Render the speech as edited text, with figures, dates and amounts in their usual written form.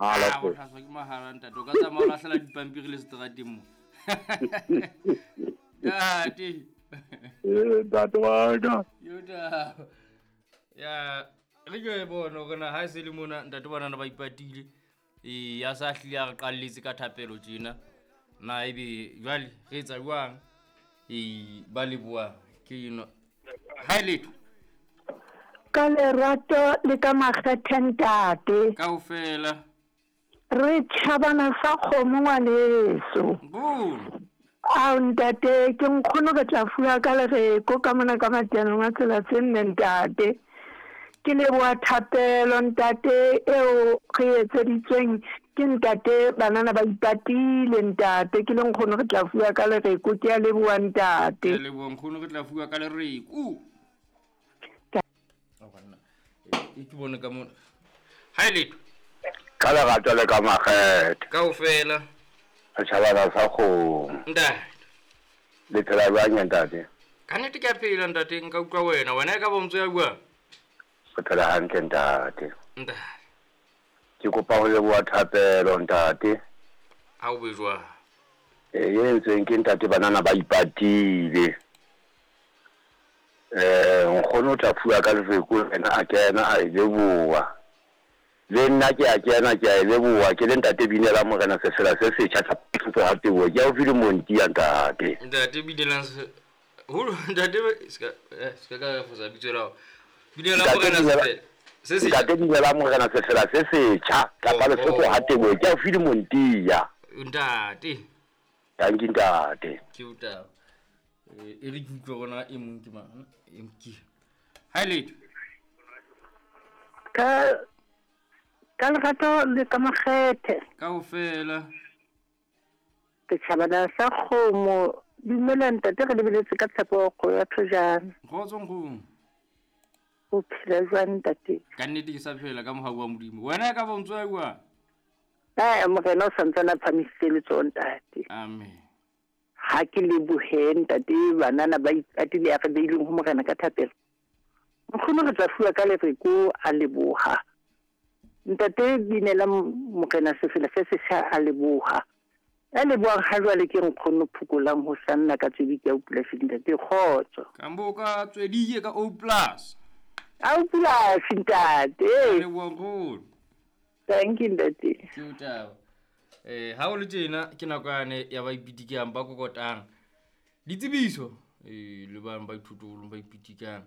Mahala Ah, o feela. tlhatswa ke mahala ntate o ka tsamaya o latlhela dipampiri le seterateng mo ntate. Ee, ntate wa ka. Yo taba ya re ke e bone gore na ha e se le mona ntate banana ba ipatile ee ya sa hlile a re qalletse ka thapelo tjena na ebe jwale re etsa jwang ee ba leboa ke eno ha e letho. Ka lerato le ka makgethe ntate. Kaofela. Re tšhabana sa kgomo ngwaneso. Nkgono. Ao ntate ke nkgono re tla fuwa ka lereko ka mona ka mateanong a tsela tse nne ntate. Ke leboha thapelo ntate eo re etseditsweng ke ntate banana ba ipatile ntate ke le nkgono re tla fuwa ka lereko ke a leboha ntate. Ke a leboha nkgono re tla fuwa ka lereko. E ke bone ka mona. Ha e letho. Ka lerato le ka makgethe. Kaofela. Setjhabana sa kgomo. Ntate. Le phela jwang ntate? Ka nnete ke a phela ntate nka utlwa wena. Wena e ka ba o ntso ya buang? Re phela hantle ntate. Ntate. Ke kopa ho leboha thapelo ntate. Ha o be jwang? E entsweng ke ntate banana ba ipatile. Nkgono o tla fuwa ka lefeko ena a kena a e leboha. Le nna ke a kena ke a e leboha ke le ntate Binela Morena sefela se setjha tsa ha teboho ke haufi le Monti ya ntate. Ntate Binela holo ntate ska ska ka fosa bitso la. Binela Morena sefela se setjha. Ntate Binela Morena sefela se setjha kapa Lesotho ha teboho ke haufi le Monti ya. Ntate. Thank you ntate. Ke o taba. E re ke utlwe rona e mong ke mang e mke. Ha letho. Ka lerato le ka makgethe. Kaofela. Ke tšhabana sa kgomo. Dumela ntate re lebeletse ka tshepo go ya thojana. Kgotso nkgono. O phela jwang ntate? Ka nnete ke sa phela ka mohau wa Modimo. Wena e ka ba o ntso ya buang? Ee, morena o santsane a phamisitse letsoho ntate. Amen. Ha ke lebohe ntate banana ba ipatile ya re beileng ho morena ka thapelo. Nkgono re tla fuwa ka lereko a leboha. Ntate Binela Morena sefela se setjha a leboha. A lebohang ha jwale ke nkgono phokolang ho sanna ka tswedi ke O plus ntate kgotso. Kambo ka tswedi ka O plus. O plus ntate. Leboha nkgono. Thank you ntate. Ke o taba. Ha o le tjena ke nako yane ya ba ipitikang ba kokotang. Ditsebiso le bang ba ithutolong ba ipitikang.